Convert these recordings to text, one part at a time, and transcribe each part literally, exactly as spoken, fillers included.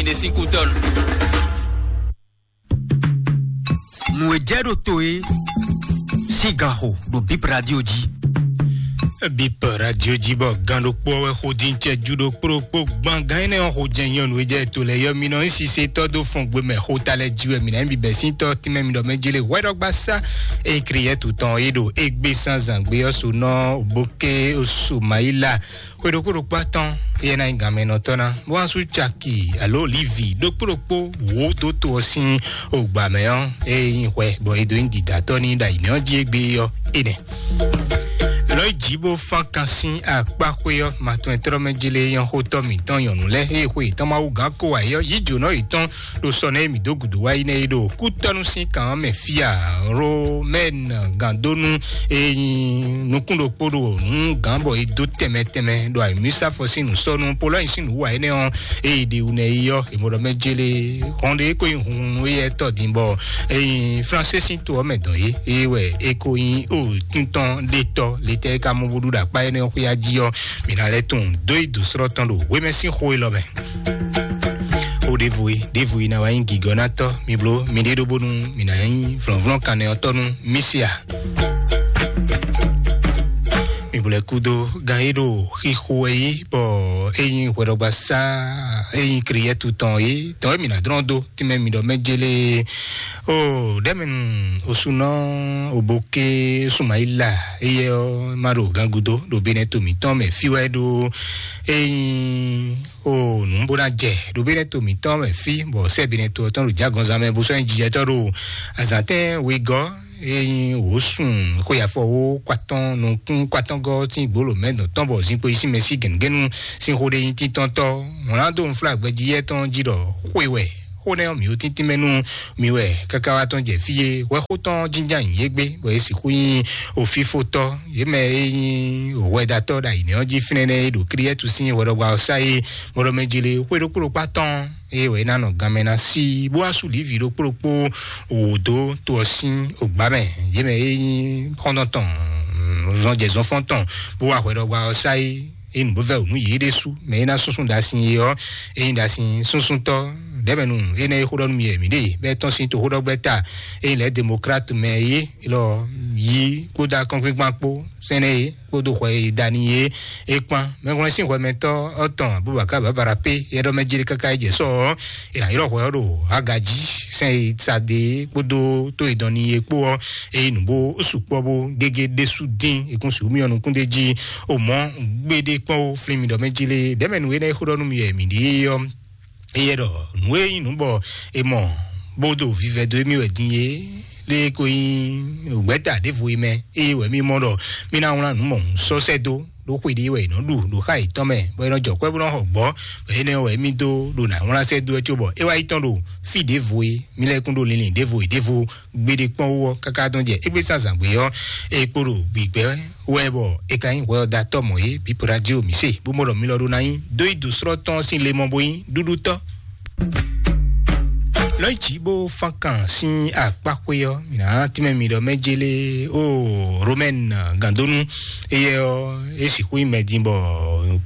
Nesi Kutɔn. Nǔ e jɛ ɖo to e sín ganxo ɖo Bip Radio jí. Bip Radio jí bɔ gan ɖokpó wɛ xo dín cɛ ju ɖokpó ɖokpó gban gan énɛ́ ɔ́ xo jɛ nyɔnu e jɛ to lɛ yɔ mi nɔ nyi sisetɔ dó fɔn gbe mɛ xota lɛ jí wɛ mi ná nyi bibɛ sín tɔ tínmɛ mi ɖɔ mɛ jele hwɛɖɔgba sá. Ekri yɛ tutɔn e ɖo egbe sanzan gbe ɔ́ so nɔ boke osu mayila. Xwe ɖokpó ɖokpó atɔn yɛ ná nyí ganmɛnɔtɔ́ ná bó wá sú caki alo livi ɖokpó ɖokpó wǒ dó to ɔ́ sín ogbǎ mɛ ɔ́, eye nyí hwɛ bɔ é dó nyí dǐdátɔ́ ní ɖo ayǐnɛ́ ɔ́ jí égbé ɔ́, énɛ́. Lɔ̌ yi jǐ bó fán kan sín akpáxwé ɔ́, matɔn e tlɔ́ mɛ jlé nyɔ́ xótɔ́ mǐtɔn nyɔ̌nu lɛ́ɛ, eye xwe yětɔn Mawu gǎn kó wǎ é ɔ́, yí jǒnɔ yětɔn ɖo sɔ nɛ́ e mǐ dó gǔdo wá yi nɛ́ é ɖo kútɔ́nú sín kan ɔ́ mɛ fí a. Romɛn gǎndónú e nyi nukún ɖokpó ɖo nǔ gǎn bɔ è dó tɛnmɛ tɛnmɛ ɖo ayǐmísafɔ sín nǔsɔ́nú Polɔ́nyi sín nǔwiwa énɛ́ ɔ́, e yi ɖe wú nɛ́ yi ɔ́, è mɔ ɖɔ mɛ jélé hɔn ɖé ko nyi hunhun éyɛ́ tɔ́ din bɔ e nyi Fransé sín to ɔ́ mɛ dɔn é, é wɛ é ko nyi o tún tɔn ɖé tɔ́ letɛ́ é ka mɔ bó ɖu ɖo akpá énɛ́ ɔ́ xwéá jí ɔ́, mǐ ná lɛ́ tunwun dó yi dǒ slɔ́ tɔn ɖo hwemɛ sín xó élɔ́ mɛ. O ɖěvo e ɖěvo e ná wá nyí gǐgɔ́nátɔ́, mi bló miɖée ɖó bónú mǐ ná nyí vlɔ̌nvlɔ́n kannɛ ɔ́ tɔ́ nú Mísia. Mi bló ɛ kúdó gan e ɖo xixo wɛ yí bɔ é nyí hwɛɖɔgbasá, é nyí kriyɛ́tu tɔn é dɔn e mǐ ná dlɔ́n dó tínmɛ mi ɖɔ mɛ jélé. O ɖɛmɛnu osunɔ oboke Sumayila, éyɛ ɔ́ ma ɖo gangudo ɖo benɛ to mǐtɔn mɛ fí wɛ ɖo. Ényí o nǔ bó ná jɛ ɖo benɛ to mǐtɔn mɛ fí bɔ sɛ benɛ to ɔ́ tɔn ɖo jágɔnzán mɛ bó sɔ́ nyí jijɛtɔ́ ɖo azǎntɛn wegɔ́. Ényí wǒ sun xweyafɔ wó kwatɔ́n nukún kwatɔ́ngɔ́ sín gbolo mɛ dɔn tɔn bɔ zinkpo yi sín mɛ sí gɛ̌ngɛ́nu sín xó ɖé nyí títɔ́ntɔ́. Wlán dó nǔflágbɛjí yɛ tɔn jí ɖɔ xwe wɛ xó nɛ́ ɔ́ mǐ ó tíntín mɛ nú mi wɛ káká wá tɔn jɛ fí e hwɛxó tɔn jínján nyi yé gbé, bɔ yě sixú nyí òfífótɔ́, yě mɛ e nyí hwɛdatɔ́ ɖo ayǐnɛ́ ɔ́ jí fínɛ́ nɛ́ e ɖo Klíɛ́tu sín hwɛɖɔgbá ɔ́ sá é, mɔɖɔmɛ jele xwé ɖokpó ɖokpó atɔn, eye wɛ é ná nɔ ganmɛ ná sí, bó wá sú lǐvǐ ɖokpó ɖokpó wǒ dó to ɔ́ sín ogbá mɛ, yě mɛ e nyí xɔ́ntɔn tɔn, zɔnjɛzɔnfɔ́n tɔn, bó wá hwɛɖɔgbá ɔ́ sá é. Ényí nǔ bó vɛ́ wǔ nú yě ɖésú, mɛ e ná súnsún ɖasin é ɔ́, ényí ɖasin súnsúntɔ́ ɖɛ̌mɛnu énɛ́ e xó ɖɔ nú mi wɛ mǐ ɖe, bɔ é tɔ́n sín toxóɖɔgbɛ́ta ényí lɛ̌ demokrat mɛ é lɔ yí kpódó akɔ́nkpinkpan kpó sɛ́nɛ é kpódó xwɛ e da n'i é, é kpán. Mɛhwlɛ́n sín hwɛmɛtɔ́ ɔ́ tɔn Abubakar Babara pé é ɖɔ mɛ jlé káká é jɛ sɔ́ ɔ́, è nǎ ylɔ́ hwɛ ɔ́ ɖo Hagají sɛn e sa ɖe é kpódó tó e dɔn n'i é kpó ɔ́, ényí nǔ bó sukpɔ́ bó gégé ɖésú dín, è kún sixú myɔ nukún d'é jí. O mɔ̌, gbéɖé kpɔ́n ó, flín mi ɖɔ mɛ jí lé, ɖɛ̌mɛ nǔ énɛ́ e xó ɖɔ nú mi wɛ mǐ ɖe é ɔ́, éyɛ́ ɖɔ nǔ e nyí nǔ bɔ è mɔ bó ɖo vivɛ dó émí wɛ din é, lé ko nyí gbɛ̌ta ɖěvo é mɛ, ée wɛ mì mɔ ɖɔ mì ná wlán nǔ mɔ̌hun sɔ́ sɛ́ dó ɖó xwe ɖé wɛ è nɔ ɖu ɖo xá yětɔn mɛ, bɔ è nɔ jɔ kwɛ́ bó nɔ xɔ gbɔ̌, bɔ énɛ́ wɛ mì dó ɖo nǎ wlán sɛ́ dó ɛ cóbɔ é wá yi tɔn ɖo fí ɖěvo é, mì lɛ́ kún ɖo linlin ɖěvo e ɖěvo gbeɖé kpɔ́n wú ɔ́ káká dɔn jɛ égbé zǎnzǎn gbé ɔ́, é kpo ɖo gbǐgbɛ́ wɛ bɔ è ka nyí hwɛ ɔ́ da tɔ́ mɔ̌ é, bǐ Peladio mǐ se, bó mɔ ɖɔ mi lɔ ɖó ná nyí dó yi dǒ slɔ́ tɔn sín le mɔ bó nyí ɖúɖútɔ́. Lɔ̌ yi jǐ bó fán kan sín akpáxwé ɔ́, mǐ ná tínmɛ mi ɖɔ mɛ jélé ó Romɛn gǎndónú, éyɛ́ ɔ́ é sixú nyí mɛ din bɔ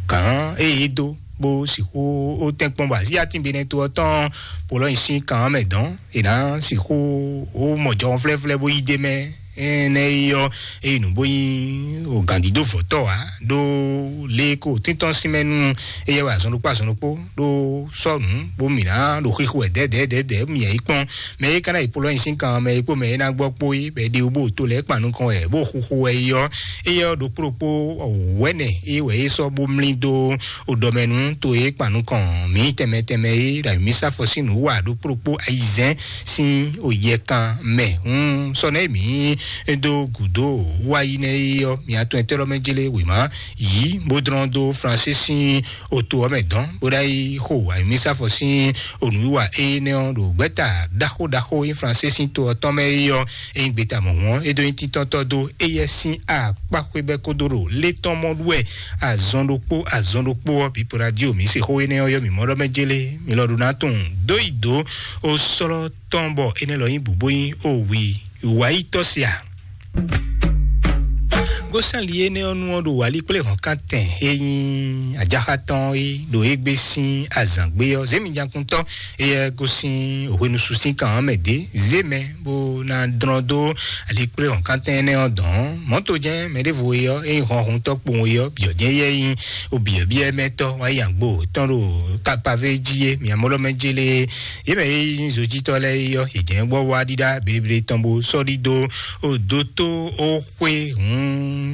gǎn ée é dó bó sixú ó tɛ́nkpɔ́n bɔ así atín benɛ́ to ɔ́ tɔn Polɔ́nyi sín kan ɔ́ mɛ dɔn. È nǎ sixú ó mɔ jɔhɔn flɛ́flɛ́ bó yí d'é mɛ. Énɛ́ é ɔ́, é yi nǔ bó nyí o gǎndídó vɔ̌tɔ́ ǎ, ɖó lě e ko tíntɔ́n sín mɛ nú éyɛ́ wɛ azɔn ɖokpó azɔn ɖokpó ɖó sɔ́ nǔ bó mǐ ná ɖo xixo wɛ dɛ̌dɛ̌dɛ̌dɛ̌ mǐ yi kpɔ́n. Mɛ e ka ná yi Polɔ́nyi sín kan mɛ e kpó mɛ e ná gbɔ kpó é, bɔ è ɖe wú bó to lɛ́ kpan nukɔn wɛ bó xuxu wɛ é ɔ́, éyɛ́ ɔ́ ɖokpó ɖokpó wɛ̌nɛ é wɛ é sɔ́ bó mlí dó o ɖɔ mɛ nú to e kpan nukɔn mǐ tɛnmɛ tɛnmɛ é ɖo ayǐmísafɔ sín nǔ wa ɖokpó ɖokpó ayizɛ́n sín o yɛkan mɛ. Hun sɔ nɛ mǐ dó gǔdo wá yi nɛ é ɔ́, mǐ atɔn ɛtɛ́ lɔ mɛ jlé wěma yǐ bó dlɔ́n dó Fransé sín oto ɔ́ mɛ dɔn bó ɖo yi xo ayǐmísafɔ sín onǔwiwa énɛ́ ɔ́ ɖo gbɛ́ta ɖaxó ɖaxó e Fransé sín to ɔ́ tɔn mɛ é ɔ́, é nyí gbeta mɔ̌hun ɔ́, é dó nyí títɔ́tɔ́ dó éyɛ́ sín akpáxwé bɛ́ kódó ɖo lé tɔn mɔ ɖu wɛ azɔn ɖokpó azɔn ɖokpó ɔ́, bǐ Peladio mǐ se xó énɛ́ ɔ́ yɔ mǐ mɔ ɖɔ mɛ jélé, mi lɔ ɖo ná tunwun dó yi dǒ ó slɔ́ tɔn bɔ énɛ́ lɔ nyí bǔ bó nyí ó wi wǎyítɔ́ se a? Ó sán li énɛ́ ɔ́ nu ɔ́ ɖo wǎlí kplé hɔ̌nkántɛn e nyí ajaxa tɔn é ɖo égbé sín azǎn gbé ɔ́, zěmijakuntɔ́ éyɛ́ gosín hwenusu sín kan ɔ́ mɛ dě. Zě mɛ bó ná dlɔ́n dó ali kplé hɔ̌nkántɛn énɛ́ ɔ́ dɔn. Mɔ̌to jɛ́n mɛ ɖěvo é ɔ́, é nyí hɔnhuntɔ́ kpowun é ɔ́, byɔ̌ jɛ́n éyɛ́ nyí obyɔ̌byɔ́ mɛ tɔ́ wá yi agbo tɔn ɖo kapavé jí é, miamɔlɔmɛ jélé. Yě mɛ e nyí zojítɔ́ lɛ́ɛ é ɔ́, yě jɛ́n gbɔ wá ɖíɖá bleble tɔn bó sɔ́ ɖídó ó dótó ó xwé hǔn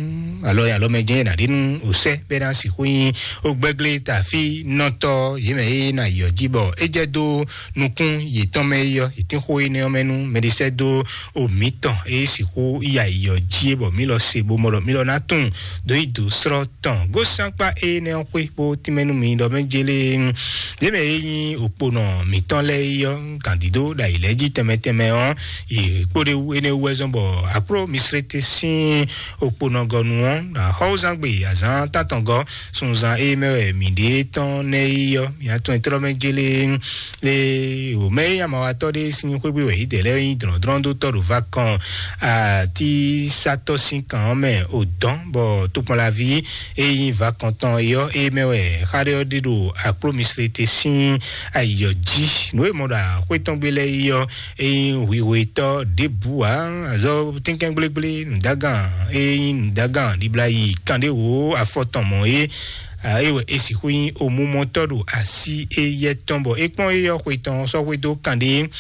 alɔ alɔmɛ jɛ́n ná ɖe nú òsɛ bɛ ná sixú nyí ó gbɛglé tafí nɔtɔ. Yě mɛ e ná yɔ jí bɔ é jɛ dó nukún yětɔn mɛ é ɔ́, yě tín xó énɛ́ ɔ́ mɛ nú mɛɖisɛ́ dó o mǐtɔn e sixú ya yɔ jí é bɔ mǐ lɔ se bó mɔ ɖɔ mǐ lɔ ná tunwun dó yi dǒ srɔ́ tɔn. Gósán kpá énɛ́ ɔ́ xwé kpó tínmɛ nú mi ɖɔ mɛ jélé. Yě mɛ e nyí òkponɔ mǐtɔn lɛ́ɛ é ɔ́, gǎndídó ɖo ayǐ lɛ́ɛ jí tɛnmɛ tɛnmɛ ɔ́, yě kpó ɖe wú énɛ́ wú wɛ zɔ́n bɔ akló misrete sín òkponɔgɔnu ɔ́, ɖo axɔ́wúzán gbe azǎn tántɔngɔ́ sunzan e mɛ wɛ mǐ ɖe tɔn nɛ́ é ɔ́, mǐ atɔn e tlɔ́ mɛ jélé. Le wòmɛ e amawatɔ́ ɖé sín xwégbé wɛ yě dɛ lɛ́ɛ nyí dlɔ̌ndlɔ́ndótɔ́ ɖo va kɔn atísatɔ́ sín kan ɔ́ mɛ ò dɔn, bɔ tokpɔnlaví e nyí va kɔn tɔn é ɔ́, é mɛ wɛ xá ɖé ɔ́ ɖe ɖo akló misrete sín ayǐ ɔ́ jí. Nǔ e mɔ ɖo axwé tɔn gbé lɛ́ɛ é ɔ́, é nyí hwihwetɔ́ ɖěbǔ ǎ. Azɔ tínkɛ́ngblégblénu dagán, é nyí nǔ dagán ɖibla yi kanɖéwǒ afɔ tɔn mɔ̌ é. Ée wɛ é sixú nyí omumɔtɔ́ ɖo así éyɛ́ tɔn, bɔ é kpɔ́n éyɛ́ xwe tɔn sɔ́ xwedó kanɖé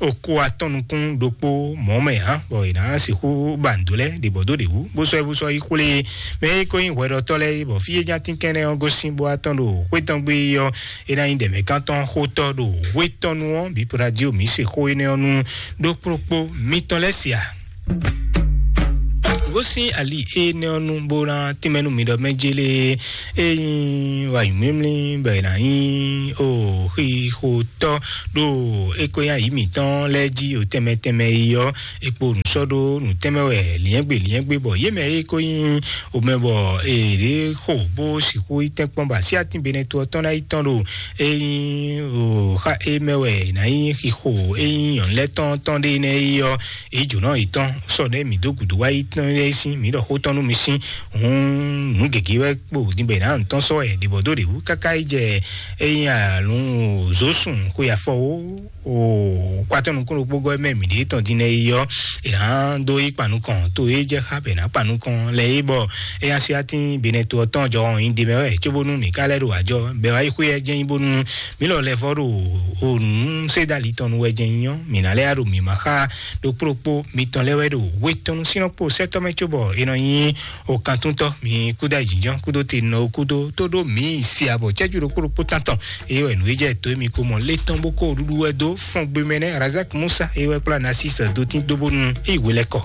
oko atɔn nukún ɖokpó mɔ̌ mɛ hǎn, bɔ è nǎ sixú ba nǔ dó lɛ́ɛ ɖě bɔ dó ɖě wú, bó sɔ́ ɛ bó sɔ́ yi xwlé mɛ é ko nyí hwɛɖɔtɔ́ lɛ́ɛ é, bɔ fí é nya tínkɛ́nnɛ́ ɔ́ gosín bó wá tɔn ɖo xwé tɔn gbé é ɔ́, é ná nyí ɖɛ̌mɛkántɔ́ xótɔ́ ɖo hwé tɔn nu ɔ́, bǐ radio mǐ se xó énɛ́ ɔ́ nú ɖó kplókpó mitɔn lɛ́ɛ sia. Gosín ali énɛ́ ɔ́ nu bó ná tínmɛ nú mi ɖɔ mɛ jélé é nyí wǎyúmímlí bɔ è nǎ nyí o xixotɔ́ ɖo é ko nyí ayǐ mǐtɔn lɛ́ɛ jí o tɛnmɛ tɛnmɛ yi ɔ́, é kpo nǔ sɔ́ ɖó nǔ tɛnmɛ wɛ liɛ́ngbé liɛ́ngbé bɔ yě mɛ é ko nyí o mɛ bɔ è ɖě xo bó sixú yi tɛ́nkpɔ́n bɔ así atín benɛto ɔ́ tɔn ná yi tɔn ɖo é nyí o xa é mɛ wɛ è nǎ nyí xixo é nyí nyɔ̌nu lɛ́ɛ tɔn tɔn ɖé nɛ́ yi ɔ́, èyí jǒnɔ yětɔn sɔ ɖé mǐ dó gǔdo wá yi tɔn lɛ́ɛ sín mǐ ɖɔ xó tɔn nú mi sín. Hǔn nǔ gěgé wɛ kpo din bɔ è nǎ nǔ tɔn sɔ́ wɛ ɖě bɔ dó ɖě wú káká yi jɛ é nyí alǔn zǒsùn xwe afɔ wó o kwatɔ́ nukún ɖokpó gɔ́ mɛ mǐ ɖě tɔn din nɛ yi ɔ́, è nǎ dó yi kpanukɔn to é jɛ xá bɛ nǎ kpanukɔn lɛ é bɔ é nya sí atín benɛto ɔ́ tɔn jɔ hɔn nyi ɖe mɛ wɛ cóbónú mǐ ká lɛ́ ɖo ajɔ bɛ wá yi xwé ɛ jɛ nyi bónú mǐ lɔ lɛ vɔ ɖo o nǔ sédali tɔn nu wɛ jɛ nyi ɔ́, mǐ ná lɛ́ ya ɖo mǐ ma xá ɖokpó ɖokpó mitɔn lɛ́ɛ wɛ ɖo hwetɔnnu sínɔ kpo sɛ́tɔ́ mɛ cóbɔ è nɔ nyi o kantúntɔ́ mi kúdó ayǐjínjɔ́n kúdó te nɔ kúdó tó ɖó mǐ si abɔ cɛ́jú ɖokpó ɖokpó tántɔn. Eye wɛ nǔ e jɛ tó émi ko mɔ lé tɔn bó kó ɖuɖu wɛ dó fɔn gbe mɛ nɛ́ Razak Musa eye wɛ kplá Nasis dó tín dó bónú é yi hwe lɛ́ kɔ.